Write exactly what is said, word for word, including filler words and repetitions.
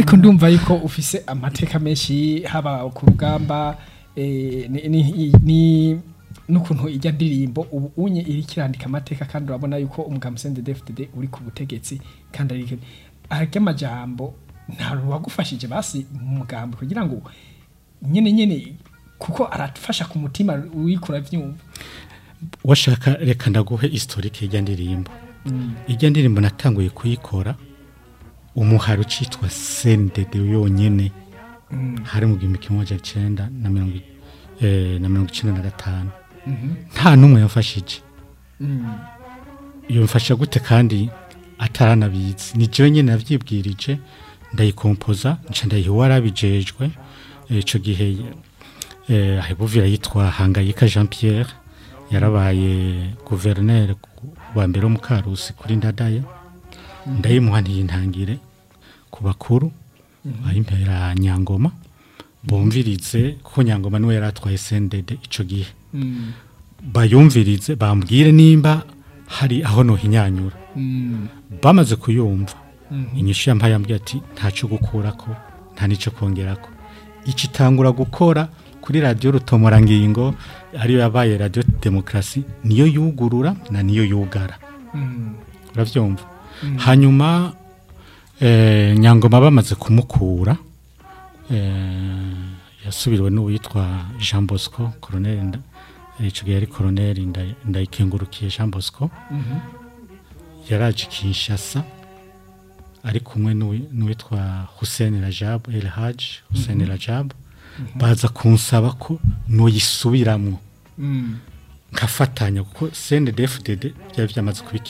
Ariko ndumva yuko ufise amateka menshi, haba ku rugamba, eh, ni, ni, ni n'ukuntu ijya ndirimbo ubu unye iri kirandika amateka, kandi urabona yuko umugambi C N D D-F D D uri ku butegetsi, kandi ari arya amajambo nta wagufashije basi mu mugambi kugira ngo nyene nyene, kuko arafasha ku mutima uriko uravyumva. Washaka reka ndaguhe historique y'ijya ndirimbo. Ijya ndirimbo natanguye kuyikora umuhari ucitwa C N D D yonyene, hari mu gihumbi kimwe amajana icenda na mirongo eh, na mirongo icenda na gatanu. Nta n'umwe yamfashije. Yomfasha gute kandi ataranabizi? Ni jewe nyene navyibwirije, ndayikompoza, nca ndayiha uwarabijejwe ico gihe, eh, ahebuvira yitwa Hangayika Jean Pierre, yarabaye gouverneur wa mbere wo mu Karusi kuri Ndadaye. Ndayimuha, ntiyintangire ku bakuru, ayimpera Nyangoma bumvirize, kuko Nyangoma niwe yari atwaye C N D D ico gihe, bayumvirize bambwire nimba hari aho nohinyanyura. Bamaze kuyumva, inyishu yampaye yambwiye ati: "Ntaco gukurako, nta nico kongerako." Icitangura gukora kuri radiyo Rutomorangingo, ariyo yabaye Radiyo Demokarasi, niyo yugurura na niyo yugara, uravyumva? Hanyuma eh, Nyangoma bamaze kumukura, eh, yasubiriwe n'uwitwa Jean Bosco, colonel, nda- ico gihe yari colonel Nda- Ndayikengurukiye Jean Bosco. Yaraje Kinshasa ari kumwe n'uwi- n'uwitwa Hussein Rajab, El Haj Hussein Rajab, baza kunsaba ko noyisubiramwo nkafatanya, kuko C N D D-F D D byari byamaze kuba.